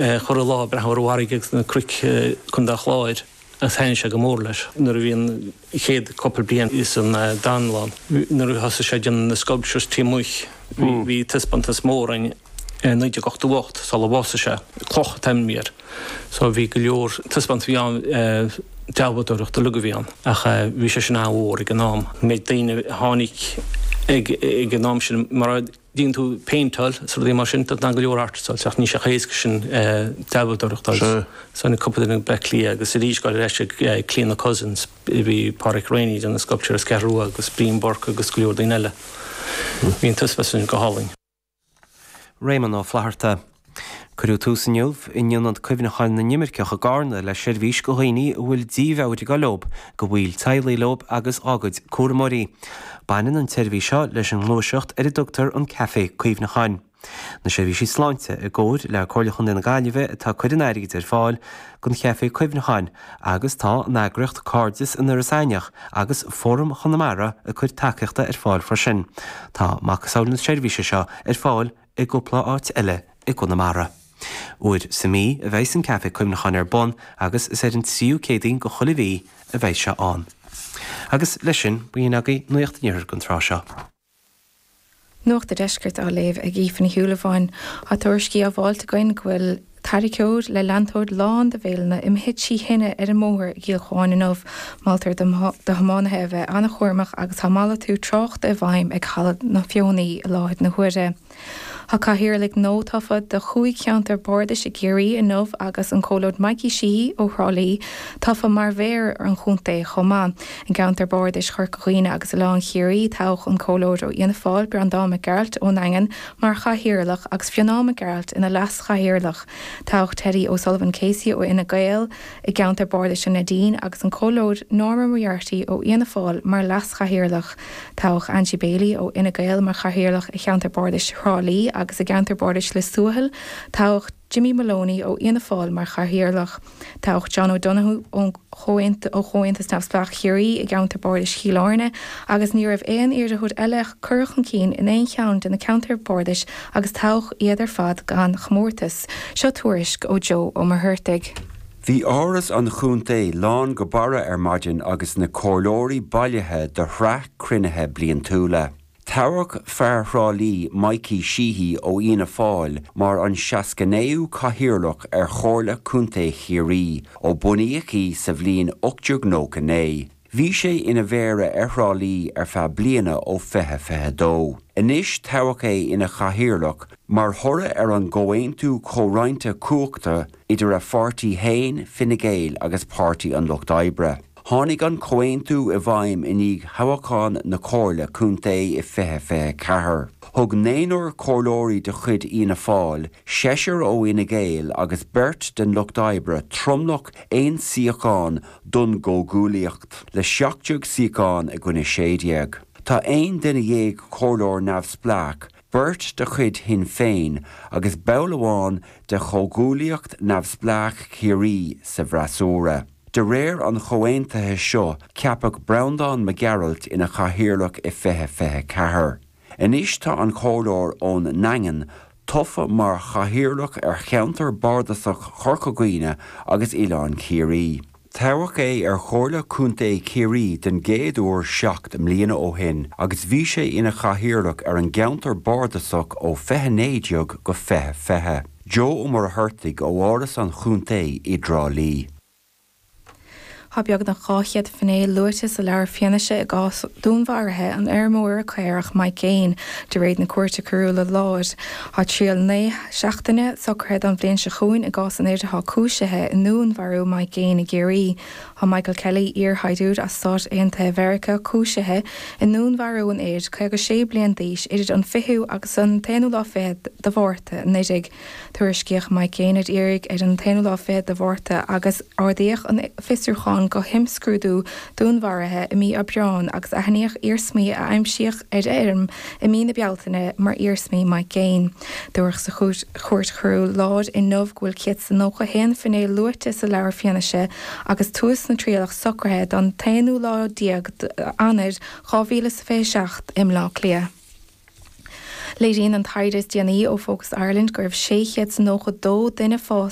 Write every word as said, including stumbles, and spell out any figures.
Chorradh lá ag breathnú ar an bhfarraige agus na cnoic Contae an Chláir agus thaitnigh sé go mór leis. Nuair a bhí an chéad cúpla bliain san dánlann, nuair a thosaigh sé ag déanamh na sculptures taobh amuigh, bhí taispeántas mór ann i naoi déag ochtó ocht sula bhásaigh sé, Cloch an t-ainm a bhí air. So bhí go leor taispeántas a bhí ann, dealbhádóireacht uilig a bhí ann ach bhí sé sin an-mhór ag an am. An méid daoine a tháinig ag an am sin mar a dhéanann tú péinteáil is rudaí mar sin, tá go leor artists ach níl sé chomh héasca sin dealbhádóireacht a fháil. So tháinig cúpla duine go Bleá Cliath agus arís go ar ais ag Cliona Cousins, bhí Pádraic Reaney ag déanamh sculpture as Ceathrú Rua agus Brian Burke agus go leor daoine eile. Bhí an taispeántas sin go hálainn. Réamonn Ó Flatharta. Cuireadh tús inniu in Ionad Cuimhneacháin na nImirceach i gCarna le seirbhís do dhaoine a bhfuil dímheabhair ag dul leo, do bhaill teaghlaigh leo agus dá gcuid cúramóirí. Baineann an tseirbhís seo leis an ngluaiseacht ar a dtugtar an Café Cuimhneacháin. Na seirbhísí sláinte i gcomhar le Comhairle Chontae na Gaillimhe atá ag cur an airgid ar fáil don Chaifé Cuimhneacháin agus tá an eagraíocht Cairdeas in Iorras Aithneach agus Fóram Chonamara ag cur tacaíochta ar fáil freisin. Tá macasamhail na seirbhíse seo ar fáil i gcúpla áit eile i gConamara. Uair sa mhí a bheidh an Café Cuimhneacháin ar bun agus is ar an tríú Céadaoin de chuile mhí a bheidh sé ann. Agus leis sin, b'in agaibh Nuacht an Iarthair don tráth seo. Nuacht an Deiscirt á léamh ag Aoife Ní Shúilleabháin. Tá tuairiscí á bhfáilt againn go bhfuil tarracóir le leantóir lán de bhéileanna imithe trí thine ar an mbóthar i gCill Chuáin inniu. Moltar do thiománaithe a bheith an-chúramach agus tá malartú tráchta i bhfeidhm ag Halla na Feothanaí i láthair na huaire. Tá cathaoirligh nua tofa do chúig cheantar bardais i gCiarraí inniu agus an Comhairleoir Mikey Sheehy ó Thrá Lí tofa mar mhéara an chontae chomh maith. I gceantar bardais Chorca Dhuibhne agus Oileán Chiarraí toghadh an Comhairleoir ó Fhianna Fáil Breandán Mac Gearailt ón nDaingean mar chathaoirleach agus Fionnán Mac Gearailt ina leas-chathaoirleach. Toghadh Teddy O'Sullivan Casey ó Fhine Gael i gceantar bardais an Neidín agus an Comhairleoir Norma Moriarty ó Fhianna Fáil mar leas-chathaoirleach. Toghadh Angie Bailey ó Fhine Gael mar chathaoirleach i cheantar bardais Thrá Lí agus i gceantar bardais Lios Tuathail, toghadh Jimmy Maloney ó Fhianna Fáil mar chathaoirleach. Toghadh John O'Donoghue ó Chomhaontas Neamhspleách Chiarraí i gceantar bardais Chill Airne agus ní raibh aon iarrthóir eile curtha chun cinn in aon cheann de na ceantair bardais agus toghadh iad ar fad gan chomórtas. Seo tuairisc ó Joe Ó Muircheartaigh. Bhí áras an chontae lán go barra ar maidin agus na comhairleoirí bailithe do shraith cruinnithe bliantúla. Toghadh fear Thrá Lí Mikey Sheehy ó Fhianna Fáil mar an seasca naoú cathaoirleach ar Chomhairle Contae Chiarraí ó bunaíodh í sa bhliain ocht déag nócha naoi. Bhí sé ina mhéara ar Thrá Lí ar feadh bliana ó fiche fiche dó. Anois toghadh é ina chathaoirleach mar thoradh ar an gcomhaontú comhroinnte cumhachta idir a pháirtí féin, Fine Gael agus Páirtí an Lucht Oibre. Tháinig an comhaontú i bhfeidhm i ndiaidh thoghchán na Comhairle Contae i fiche fiche ceathair. Thug naonúr comhairleoirí de chuid Fhianna Fáil, seisear ó Fhine Gael agus beirt den Lucht Oibre tromlach aon suíochán don gcomhghuaillíocht, le seacht déag suíochán i gcoinne sé déag. Tá aon duine dhéag comhairleoir neamhspleách, beirt de chuid Shinn Féin agus ball amháin de Chomhghuaillíocht Neamhspleách Chiarraí sa bhfreasúra. De réir an chomhaontaithe seo, ceapadh Breandán Mac Gearailt ina chathaoirleach i fiche fiche ceathair. Anois tá an comhairleoir ón nDaingean tofa mar chathaoirleach ar cheantar bardasach Chorca Dhuibhne agus Oileán Ciarraí. Toghadh é ar Chomhairle Contae Chiarraí den gcéad uair seacht mbliana ó shin agus bhí sé ina chathaoirleach ar an gceantar bardasach ó fiche naoi déag go fiche fiche. Joe Ó Muircheartaigh ó Áras an Chontae i dTrá Lí. Tá beagnach dhá chéad finné luaite sa leabhar fianaise i gcás dúnmharaithe an fheirmeora caorach Mike Gaine, de réir na Cúirte Coiriúla Láir. Tá triail naoi seachtaine socraithe don bhliain seo chugainn i gcás an fhir atá cúisithe i ndúnmharú Mike Gaine i gCiarraí. Tá Michael Kelly, iarshaighdiúir as Stáit Aontaithe Mheiriceá, cúisithe i ndúnmharú an fhir, caoga sé bliain d'aois, idir an fichiú agus an t-aonú lá fichead de Mhárta anuraidh. Tuairiscíodh Mike Gaine ar iarraidh ar an t-aonú lá fichead de Mhárta agus ardaíodh an fiosrúchán go himscrúdú dúnmharaithe i mí Aibreáin agus aithníodh iarsmaí a aimsíodh ar fheirm i mí na Bealtaine mar iarsmaí Mike Gaine. Dúradh sa Chúirt Choiriúil Láir inniu go bhfuil céad is nócha a haon finné luaite sa leabhar fianaise agus tús na trialach socraithe don t-aonú lá déag d'Eanáir dhá mhíle is fiche seacht i mBleá Cliath. Léiríonn an taighde is déanaí ó Focus Ireland go raibh sé chéad nócha dó duine fásta